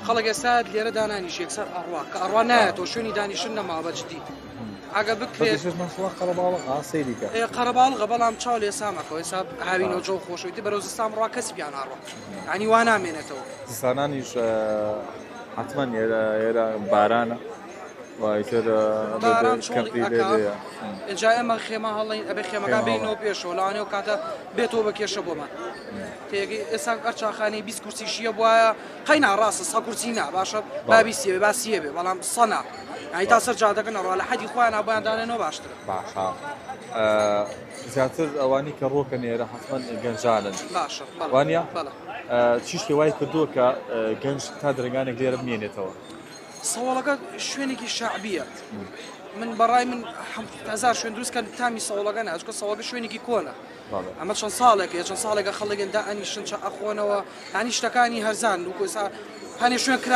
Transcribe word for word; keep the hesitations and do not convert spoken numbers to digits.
خەڵک ئێستا لێرە دانانیشێ یەکسەر ئەڕوا، کە ئەڕوا نایەتەوە، شوێنی دانیشتن نەما بە جدی. ئەگە بکرێت. بەشێش مەسڵە قەرەباڵغ ئاسەیریکە. ئێ، قەرەباڵغە، بەڵام چاو لێ سامەکەەوە، ئێستا هاوینەوە جەو خۆشەوەی تر بەرەو زستان ڕوا کەسی بیان ئاڕوا، یانی وا نامێنێتەوە. زستانانیش حتمما ئێرە ئێرە بارانە. وایتر باران چۆڵی ئەکا. ئێجا ئێمە خێمە هەڵین ئەبێ خێمەکان بینەوە پێشەوە، لەوانەوە کاتە بێتەوە بە کێشە بۆمان. تێگەی ئێستا ئەرچاخانەی بیست کورسی شیە بواە، قەینا ڕاستە سە کورسی نا باشە، بابی سیەوێ با سیەوێ، بەڵام سەنا، یانی تا سەر جادەکە نەڕوا، لە حەدی خۆیان بۆیان دانێنەوە باشترە. باشە. زیاتر ئەوانی کە ڕۆکە نێرە حتمما گەنجانن. باشە. وانە؟ چیشتی وای کردووە کە گەنج تا درنگانێک لێرە بمێنێتەوە؟ سەوەڵەکە شوێنێکی شعبیە. من بەڕای من هەزار شوێن دروستکە تامی سەوەڵەکە ناچکە سەوەکە شوێنێکی کۆنە. ئەمە چەند ساڵێکە چەند ساڵێکە خەڵگەن دا ئەنیشن چە ئەخۆنەوە، هەنی شتەکانی هەرزان و کۆسا هەنێ شوێن کرا.